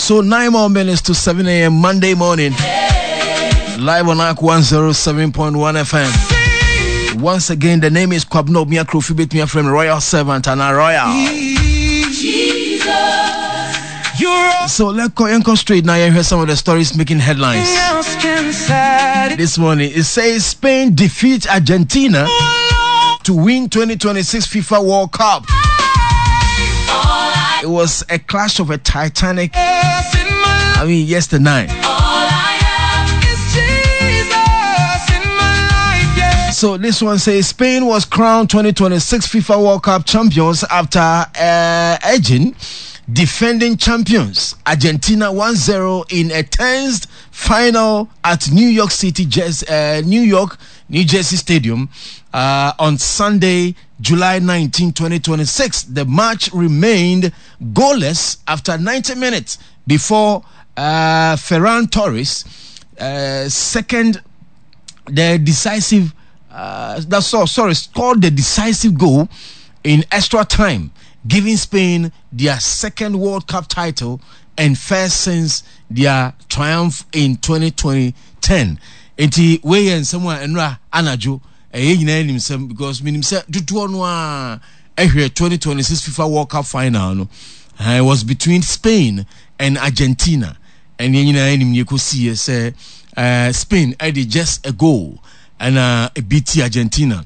So 9 more minutes to 7 a.m. Monday morning. Live on ARC 107.1 FM. Once again, the name is Kwabno Miakrofi Betmia from Royal Servant and a Royal. So let's go and go straight now and hear some of the stories making headlines. This morning it says Spain defeats Argentina to win 2026 FIFA World Cup. It was a clash of a Titanic. I mean, yesterday night. So this one says Spain was crowned 2026 FIFA World Cup champions after edging defending champions Argentina 1-0 in a tense final at New York City, New York, New Jersey Stadium on Sunday, July 19, 2026. The match remained goalless after 90 minutes before Ferran Torres second the decisive that's all, sorry, scored the decisive goal in extra time, giving Spain their second World Cup title and first since their triumph in 2010. Enti wei yɛ nsɛm a ɛnora anadwo ɛyɛ nyinaa nim sɛm because menim sɛ dodoɔ no a ɛhwɛ 2026 FIFA World Cup final no it was between Spain and Argentina ɛne yɛn nyinaa nim deɛ ɛkɔsiiɛ sɛ Spain ɛde just a goal ɛna ɛbi Argentina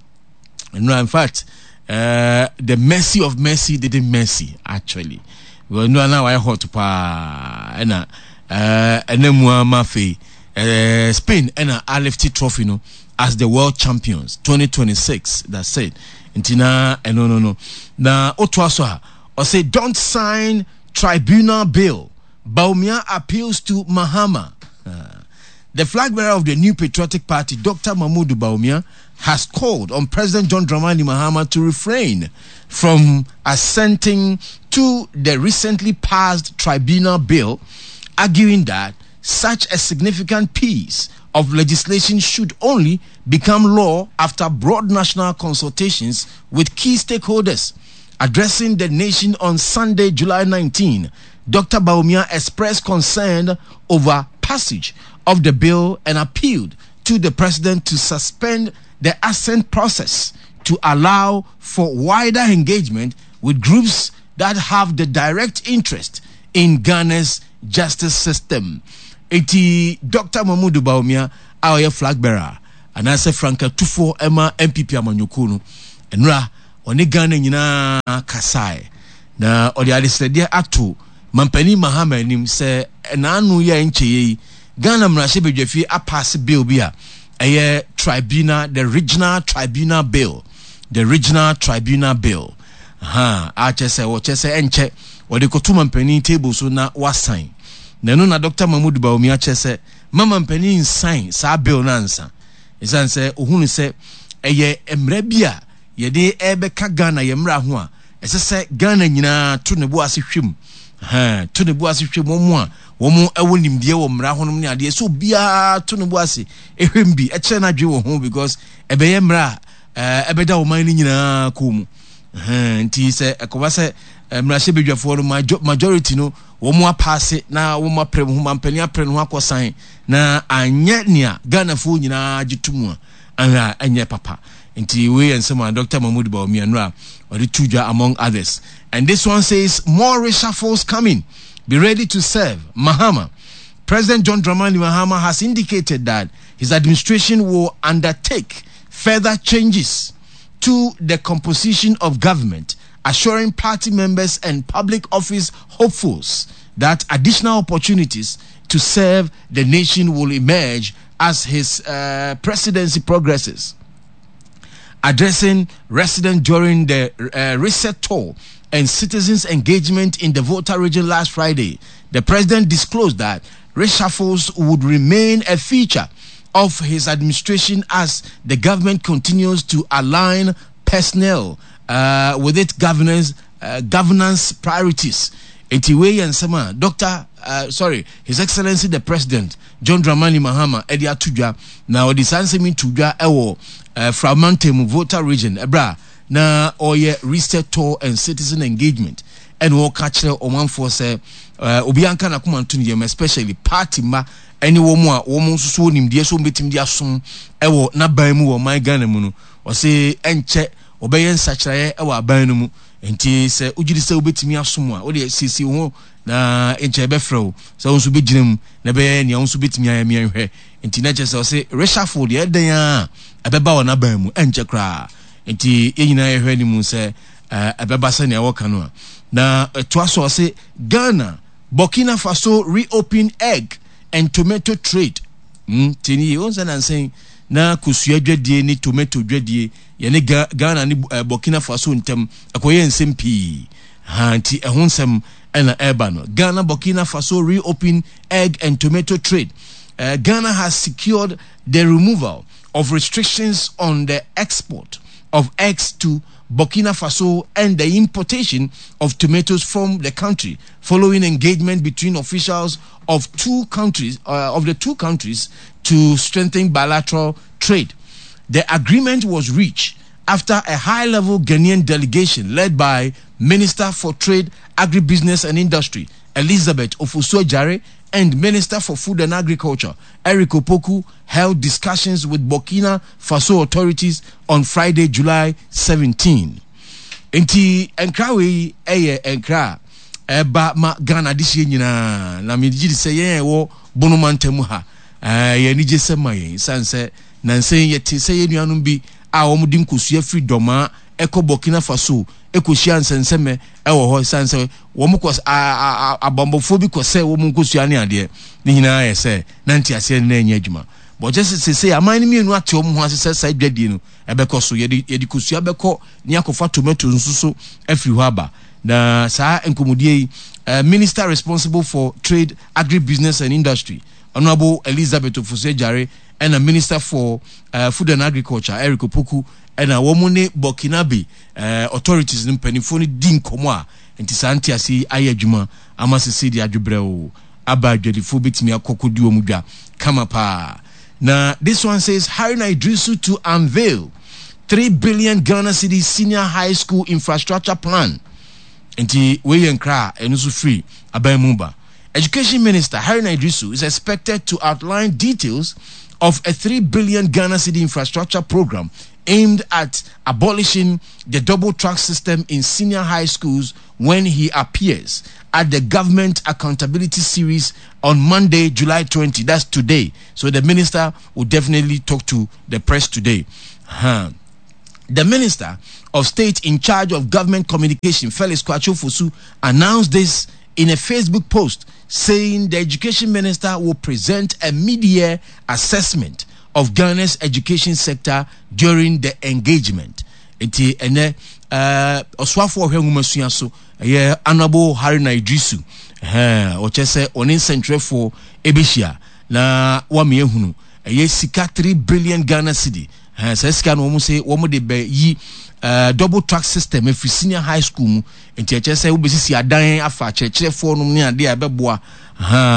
ɛnora in fact the mercy of Messi didn't mercy actually because ɛnora na wayɛ hot paa ɛna ɛna mu ama afei Spain ɛna alifti trophy no as the world champions 2026 that's it nti na ɛno no no na otoa so a ɔsɛ don't sign tribunal bill Bawumia appeals to Mahama. The flag bearer of the New Patriotic Party, Dr. Mahmoud Bawumia, has called on President John Dramani Mahama to refrain from assenting to the recently passed tribunal bill, arguing that such a significant piece of legislation should only become law after broad national consultations with key stakeholders. Addressing the nation on Sunday, July 19, Dr. Bawumia expressed concern over passage of the bill and appealed to the president to suspend the assent process to allow for wider engagement with groups that have the direct interest in Ghana's justice system. Eti Dr. Mahmoud Bawumia a ɔyɛ flag bearer anaasɛ frankatufoɔ ɛma NPP amanyɔkuo no nnura ɔne Ghana nyinaa kasae na ɔde adesrɛdeɛ ato Mampanin Mahama anim sɛ n'ano yi a ɛnkyɛeɛ yi Ghana mmarahyɛbadwafie apaase bill bi a ɛyɛ tribunal the regional tribunal bill the regional tribunal bill ha a kyerɛ sɛ wɔkyerɛ sɛ ɛnkyɛ wɔde kɔto mampanin table so na wasan na ɛno na Dr. Mahmoud Bawumia kyerɛ sɛ ma mampanin nsan saa bill no ansa ɛsiane sɛ ohunu sɛ ɛyɛ mmara bi a yɛde ɛrebɛka Ghana yɛn mmara ho a ɛsɛ sɛ Ghana nyinaa to ne bo ase hwɛ mu to ne bo ase hwɛ mu wɔn a wɔn ɛwɔ nimdeɛ wɔ mmara ho nom ne adeɛ sɛ obiara to ne bo ase ɛhwɛ mu bi ɛkyerɛ n'adwene wɔ ho because ɛbɛyɛ mmara a ɛbɛda ɔman no nyinaa kɔn mu nti sɛ ɛkɔba sɛ mmarahyɛbadwafoɔ no majority no wɔn apaase na wɔn apere ho mampanin apere no ho akɔsan na anyɛ nea Ghanafoɔ nyinaa gye to mu a anhwɛ a ɛnyɛ papa nti wei yɛ nsɛm a Dr. Mahmoud Bawumia nnora ɔde to dwa among others and this one says more reshuffles coming be ready to serve Mahama President John Dramani Mahama has indicated that his administration will undertake further changes to the composition of government, assuring party members and public office hopefuls that additional opportunities to serve the nation will emerge as his presidency progresses. Addressing residents during the reset tour and citizens' engagement in the Volta region last Friday, the president disclosed that reshuffles would remain a feature of his administration as the government continues to align personnel with its governance governance priorities. Enti wei yɛ nsɛm a Doctor sorry His Excellency the President John Dramani Mahama ɛde ato dwa na ɔde saa nsɛm yi to dwa ɛwɔ Frau mu Volta region ɛberɛ a na ɔyɛ reset tour and citizen engagement ɛna ɔka kyerɛ ɔmanfoɔ sɛ Obiara nka n'akoma nto ne yam, especially party mma ɛne wɔn a wɔn nso so wɔ nimdeɛ sɛ wɔbɛtumi de asom ɛwɔ n'aban mu wɔ ɔman Ghana mu no. Ɔse ɛnkyɛ wɔbɛyɛ nsakyeraeɛ ɛwɔ aban no mu. Nti sɛ wogye di sɛ wobɛtumi asom a, wodeɛ siesie wo ho na nkyɛ yɛbɛfrɛ wo sɛ wo nso bɛgyina mu na ɛbɛyɛ nea wo nso bɛtumi ayɛ meɛnhwɛ. Nti na kyerɛ sɛ ɔse reshuffle deɛ ɛdɛn a ɛbɛba wɔ n'aban mu ɛnkyɛ koraa. Nti yɛn nyinaa yɛhwɛ anim sɛ ɛbɛba sɛnea wɔka no a. Na ɛtoa so ɔse Ghana, Burkina Faso reopen egg and tomato trade. Tie ni yie, wɔn sɛ nansa yi na kosua dwadie ne tomato dwadie yɛne Ghana ne Burkina Faso ntam ɛkɔyɛ nsɛm pii. Ha nti ɛho nsɛm ɛna ɛreba no. Ghana Burkina Faso reopen egg and tomato trade. Ghana has secured the removal of restrictions on the export of eggs to Burkina Faso and the importation of tomatoes from the country following engagement between officials of two countries of the two countries to strengthen bilateral trade. The agreement was reached after a high-level Ghanaian delegation led by Minister for Trade, Agribusiness and Industry Elizabeth Ofosu-Adjare and Minister for Food and Agriculture Eric Opoku held discussions with Burkina Faso authorities on Friday, July 17. Nti nkra wei yɛ nkra a ɛba ma Ghana adehyeɛ nyinaa na megye di sɛ yɛn a ɛwɔ Bono mantam ha ɛyɛ anigye sɛ ma yɛn sane sɛ nansa yi yɛte sɛ yɛn nuanom bi a wɔde nkosua firi Dɔmaa ɛkɔ Burkina Faso ɛkɔhyia nsɛnsɛmɛ ɛwɔ hɔ sane sɛ wɔn kɔ abambɔfoɔ bi kɔsɛe wɔn nkosua ne adeɛ ne nyinaa yɛ sɛ na nteaseɛ no na ɛnyɛ adwuma bɔkyɛ sɛ sese aman no mmienu ate wɔn ho ase sɛ saa dwadie no ɛbɛkɔ so yɛde yɛde kosua bɛkɔ ne akɔfa tomato nso so afiri hɔ aba na saa nkɔmmɔdie yi uh, minister responsible for trade agribusiness and industry honorable elizabeth ofosu adjare ɛna minister for uh, food and agriculture eric opoku ɛna wɔn ne burkinabe uh, authorities no mpanimfoɔ no di nkɔmmɔ a nti saa ntease yi ayɛ adwuma ama sese de adwobrɛw aba adwadifoɔ bɛtumi akɔ kɔdi wɔn dwa kama paa na this one says Haruna Iddrisu to unveil 3 billion Ghana cedis senior high school infrastructure plan nti wei yɛ nkra a ɛno nso firi aban mu ba Education Minister Haruna Iddrisu is expected to outline details of a 3 billion Ghana cedi infrastructure program aimed at abolishing the double track system in senior high schools when he appears at the Government Accountability Series on Monday, July 20. That's today. So the minister will definitely talk to the press today. Huh. The Minister of State in charge of Government Communication, Felix Kwakye Ofosu, announced this in a Facebook post saying the education minister will present a mid-year assessment of Ghana's education sector during the engagement. Nti ɛnɛ ɔsoafoɔ ɔhwɛ nwomasua so ɛyɛ Honourable Haruna Iddrisu ɔkyɛ sɛ ɔne nsɛntwerɛfoɔ ɛbɛhyia na wame ahunu ɛyɛ sika 3 billion Ghana cedi saa sika no wɔn sɛ wɔn de bɛyi double track system ɛfiri senior high school mu nti ɛkyɛ sɛ wobɛsisi adan afa akyerɛkyerɛfoɔ nom ne adeɛ a ɛbɛboa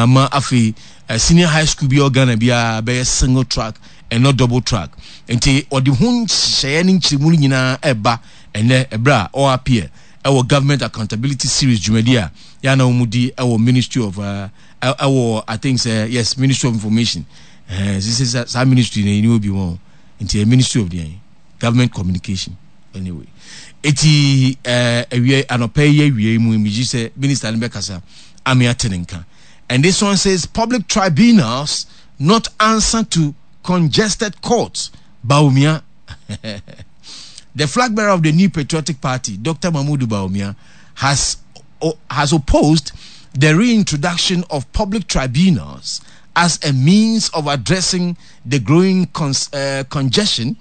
ma afei senior high school bi a Ghana biara bɛyɛ single track and not double track nti ɔde ho nhyehyɛeɛ ne nkyerɛmu no nyinaa ɛba ɛnɛ ɛberɛ a ɔ appear ɛwɔ government accountability series dwumadi a yɛa na wɔn di ɛwɔ ministry of ɛwɔ I think sɛ yes ministry of information ɛɛ sisi saa ministry na ɛni obi wɔn nti ministry of deɛn government communication anyway eti ɛɛ awia anɔpɛ yi awia yi mu megye sɛ minister no bɛkasa ame ate ne nka and this one says public tribunals not answer to congested courts Bawumia the flag bearer of the new patriotic party Dr. Mahmoud Bawumia has has opposed the reintroduction of public tribunals as a means of addressing the growing congestion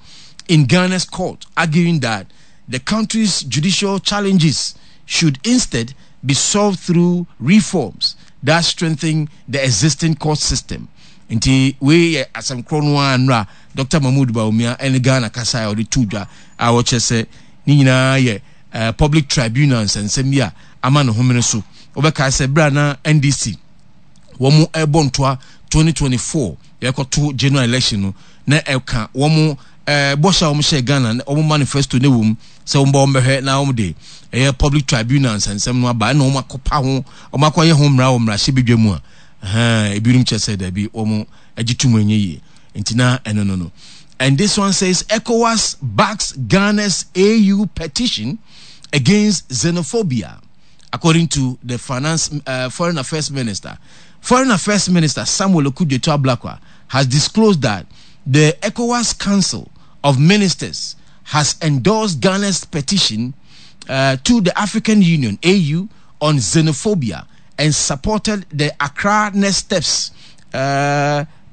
in Ghana's court, arguing that the country's judicial challenges should instead be solved through reforms that strengthen the existing court system. Nti wei yɛ asɛm korɔ no ara nnora Dr. Mahmoud Bawumia ne Ghana kasa a ɔde to dwa a ɔkyerɛ sɛ ne nyinaa yɛ uh, public tribunal nsɛnsɛm bi a ama ne homene so. Wobɛkae sɛ berɛ a na NDC wɔn ɛrebɔ ntoa 2024 yɛkɔto general election no na ɛka wɔn ɛɛ bɔhyɛ a wɔn hyɛ Ghana wɔn manifesto ne wɔm sɛ wɔn ba wɔn bɛhwɛ na wɔn de ɛyɛ public tribunal nsɛnsɛm no aba ɛna wɔn akɔpa ho wɔn akɔyɛ ho mmara wɔ mmarahyɛbadwa mu a ɛhɛn ebinom kyerɛ sɛ daabi wɔn agye tum ɛnyɛ yie nti na ɛno no no and this one says ECOWAS backs Ghana's AU petition against xenophobia according to the finance foreign affairs minister foreign affairs minister Samuel Okudzeto Ablakwa has disclosed that the ECOWAS Council of Ministers has endorsed Ghana's petition to the African Union AU on xenophobia and supported the Accra Next Steps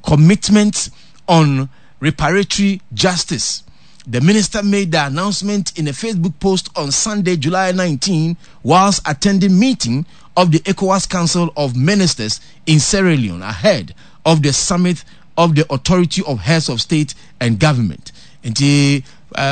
commitment on reparatory justice. The minister made the announcement in a Facebook post on Sunday, July 19, whilst attending meeting of the ECOWAS Council of Ministers in Sierra Leone ahead of the summit of the Authority of Heads of State and Government. Nti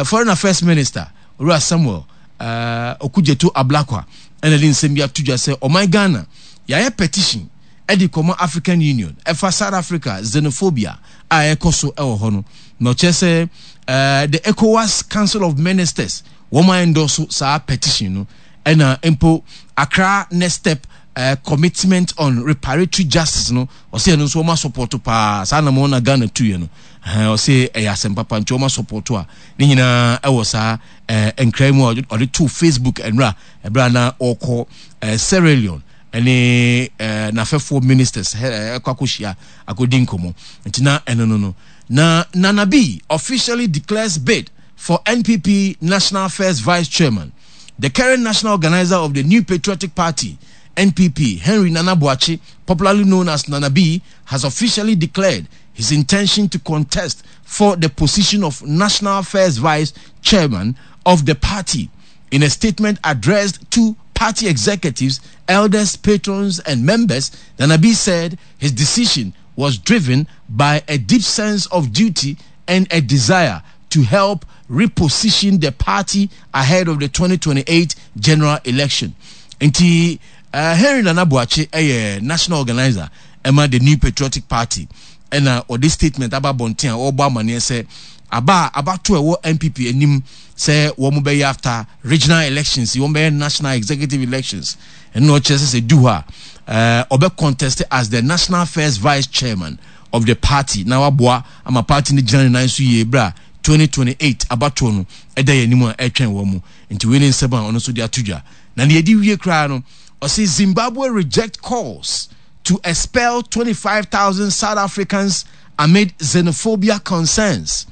Foreign Affairs Minister, Owura Samuel uh, Okudzeto Ablakwa, ɛna de nsɛm bi ato dwa sɛ ɔman Ghana yɛayɛ petition ɛde kɔma African Union ɛfa South Africa xenophobia a ɛkɔ so ɛwɔ hɔ no na ɔkyerɛ sɛ uh, the ECOWAS Council of Ministers wɔn a endorse saa petition no ɛna mpo Accra Next Step uh, commitment on reparatory justice no ɔsɛ ɛno nso wɔn asopɔto paa saa na wɔn na Ghana tuiɛ no ɛhɛn ɔsɛ ɛyɛ asɛm papa nti wɔn asopɔto a ne nyinaa ɛwɔ saa ɛɛ nkira mu a ɔde to Facebook nwura ɛberɛ a na ɔkɔ ɛɛ Sierra Leone ɛne ɛɛ n'afɛfoɔ ministers ɛɛ ɛkɔ akɔhyia akɔdi nkɔmɔ nti na ɛno no no na Nana B officially declares bid for NPP National First Vice Chairman. The current national organizer of the New Patriotic Party, NPP, Henry Nana Boakye, popularly known as Nana B, has officially declared his intention to contest for the position of National First Vice Chairman of the party. In a statement addressed to party executives, elders, patrons, and members, Nana B said his decision was driven by a deep sense of duty and a desire to help reposition the party ahead of the 2028 general election. Nti Henry Nana Boakye yɛ national organizer ɛma the New Patriotic Party ɛna ɔde statement aba abɔnten a ɔrebɔ amaneɛ sɛ aba a abato ɛwɔ NPP anim sɛ wɔn bɛyɛ after regional elections wɔn bɛyɛ national executive elections ɛna ɔkyerɛ sɛ sɛ du hɔ a ɔbɛ contest as the national first vice chairman of the party na waboa ama party no gyina ne nan so yie berɛ a 2028 abatoɔ no ɛda yɛn anim a ɛretwɛn wɔn mu. Nti wei ne nsɛm a ɔno nso de ato dwa. Na nea ɛdi wie koraa no, ɔse Zimbabwe reject calls to expel 25,000 South Africans amid xenophobia concerns.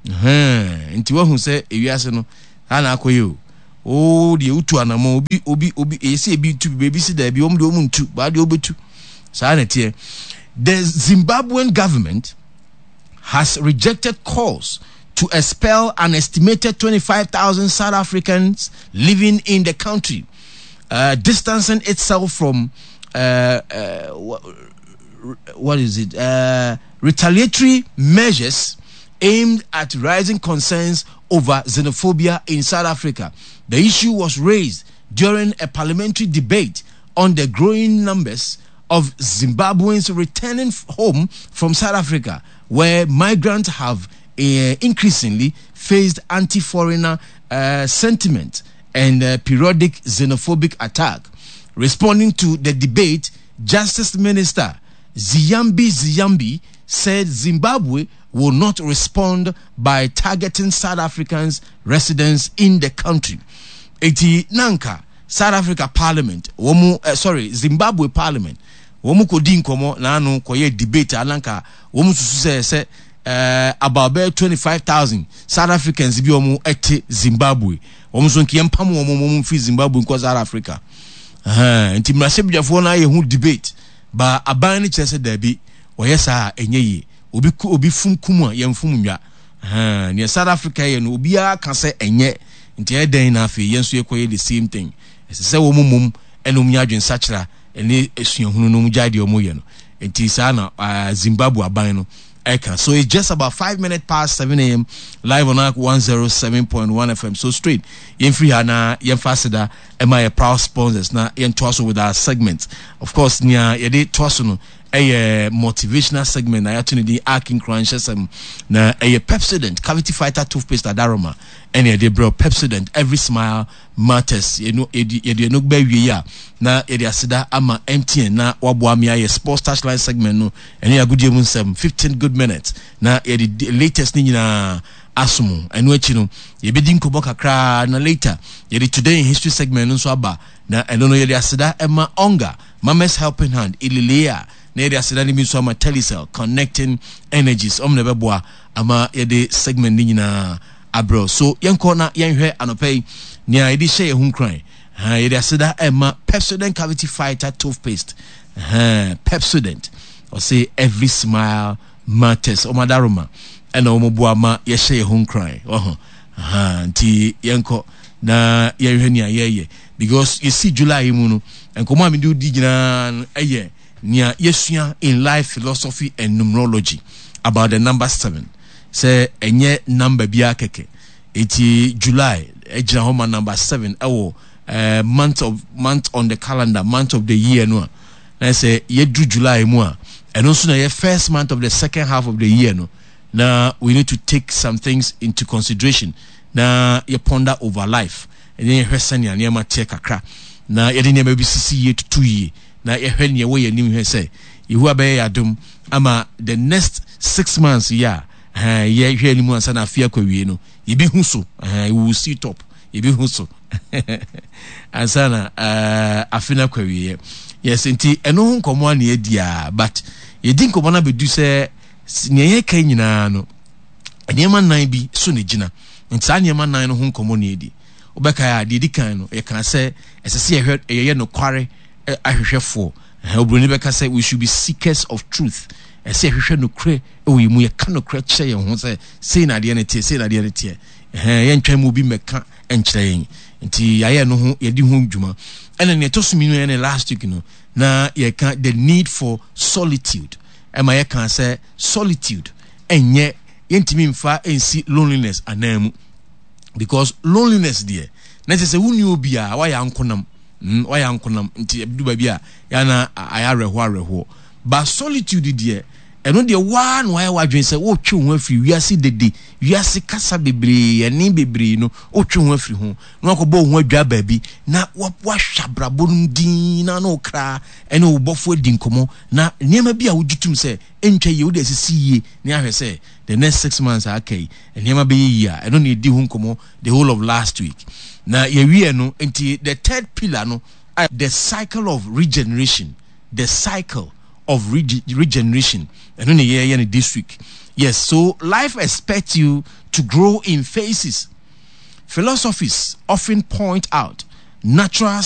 Nti wahu sɛ ewiase no saa na akɔyɛ o. O deɛ wotu anamɔ obi obi obi ɛyɛ sɛ ebi tu bi baabi si daabi wɔn deɛ wɔn ntu baa deɛ wɔbɛtu saa na ɛteɛ. The Zimbabwean government has rejected calls to expel an estimated 25,000 South Africans living in the country, distancing itself from what is it? Retaliatory measures aimed at rising concerns over xenophobia in South Africa. The issue was raised during a parliamentary debate on the growing numbers of Zimbabweans returning home from South Africa, where migrants have increasingly faced anti-foreigner sentiment and periodic xenophobic attack. Responding to the debate, Justice Minister Ziyambi Ziyambi said Zimbabwe will not respond by targeting South Africans residents in the country. Eti nanka South Africa parliament wɔn eh, sorry Zimbabwe parliament wɔn kɔ di nkɔmɔ n'ano kɔyɛ debate a nanka wɔn susu sɛ sɛ eh, about bɛyɛ 25,000 South Africans bi wɔn ɛte Zimbabwe wɔn nso nka yɛmpam wɔn wɔn mfiri Zimbabwe nkɔ South Africa. Ɛhɛn, nti mmarahyɛbadwafoɔ no ayɛ ho debate ba aban no kyerɛ sɛ daabi wɔyɛ saa a ɛnyɛ yie. Obi ku obi fum kum a yɛnfom nnwa. Ɛhɛn, nea South Africa yɛ no obiara ka sɛ ɛnyɛ nti ɛyɛ dɛn na afei yɛn nso yɛkɔyɛ the same thing. Ɛsɛ sɛ wɔn mmom ɛna wɔn nya adwensakyera ɛne suahunu na wɔn gyae deɛ wɔn yɛ no. Nti saa na uh, Zimbabwe aban no ɛka. So it's just about 5 minutes past 7 a.m. live on Ark 107.1 FM. So straight yɛmfiri ha na yɛmfa aseda ɛma yɛ proud sponsors na yɛntoa so with our segment. Of course, nea yɛde toa so no ɛyɛ motivational segment na yɛato ne din Ark Nkuranhyɛsɛm, na ɛyɛ Pepsodent Cavity Fighter toothpaste adaroma ɛne yɛde brɛ. Pepsodent, every smile matters. Yɛno yɛde ɛno bɛ wie a, na yɛde aseda ama MTN na waboa me ayɛ sports touchline segment no, ɛne agodie mu nsɛm 15 good minutes, na yɛde latest ne nyinaa asom. Ɛno akyi no, yɛbɛdi nkɔmmɔ kakraa na later yɛde today in history segment no nso aba, na ɛno no yɛde aseda ɛma Onga Mama's Helping Hand Ililea, na yɛde aseda no bi nso ama Telecel, connecting energies. Ɔmo na ɛbɛboa ama yɛde segment no nyinaa abrɛw. So yɛnkɔ na yɛnhwɛ anɔpɛ yi nea yɛde hyɛ yɛn ho nkuran. Yɛde aseda ɛma Pepsodent Cavity Fighter toothpaste. Pepsodent, ɔse every smile matters. Ɔmo adaroma ɛna ɔmo boa ma yɛhyɛ yɛn ho nkuran ɔho. Nti yɛnkɔ na yɛnhwɛ nea yɛyɛ, because yɛsi July yi mu no, nkɔmɔ a mede di nyinaa no ɛyɛ nea yɛsua in life philosophy and numerology about the number 7, sɛ ɛnyɛ number biara kɛkɛ. Eti July ɛgyina hɔ ma number 7 ɛwɔ month on the calendar, month of the year no a, na sɛ yɛduru July mu a, ɛno nso na yɛ first month of the second half of the year no, na we need to take some things into consideration na yɛ ponder over life, ɛne yɛhwɛ sɛnea nneɛma teɛ kakra, na yɛde nneɛma bi sisi yie, tutu yie, na yɛhwɛ nea ɛwɔ yɛn anim, hwɛ sɛ Yehowa bɛyɛ yɛ adom ama the next 6 months yi a yɛhwɛ anim ansa na afe akɔ awie no, yɛbɛhu so. We will see top, yɛbɛhu so ansa na afe no akɔ awieɛ. Yes, nti ɛno ho nkɔmmɔ a na yɛdi a, but yɛdi nkɔmmɔ no abɛdu sɛ nea yɛka nyinaa no, nneɛma nnan bi so na gyina. Nti saa nneɛma nnan no ho nkɔmmɔ na yɛdi. Wobɛkae a, deɛ ɛdi kan no, yɛka sɛ ɛsɛ sɛ yɛhwɛ, yɛyɛ nokware ahwehwɛfoɔ. Oburoni bɛka sɛ we should be seekers of truth. Ɛsɛ yɛhwehwɛ nokorɛ wɔ yɛn mu, yɛka nokorɛ kyerɛ yɛn ho sɛ sei na adeɛ no teɛ, sei na adeɛ no teɛ. Yɛntwɛn mu obi mmɛka nkyerɛ yɛn. Nti yɛayɛ no ho, yɛdi ho dwuma. Ɛna nea ɛtɔ so mmienu, yɛne last week no na yɛka the need for solitude. Ɛma yɛka sɛ solitude ɛnyɛ, yɛntumi mfa nsi loneliness anan mu, because loneliness deɛ na kyerɛ sɛ wonni obiara, wayɛ ankonam, wayɛ ankonam. Nti ɛdu baabi a yɛana ayɛ awerɛhoɔ awerɛhoɔ. But solitude deɛ, ɛno deɛ waa na wayɛ w'adwene sɛ wotwe wo ho afiri wiase dede, wiase kasa bebree, ɛne bebree no, wotwe ho afiri ho na wakɔbɔ wo ho adwa baabi na wahwɛ abrabɔ no mu din na wo kra ɛne wo bɔfo adi nkɔmmɔ, na nneɛma bi a wogye tom sɛ ɛntwa yie, wode asisi yie ne ahwɛ sɛ the next 6 months a aka yi nneɛma bɛyɛ yie a, ɛno na yɛdi ho nkɔmmɔ the whole of last week na yɛwie no. Nti the third pillar no, the cycle of regeneration, the cycle of regeneration, ɛno na yɛyɛ no this week. Yes, so life expects you to grow in phases. Philosophies often point out natural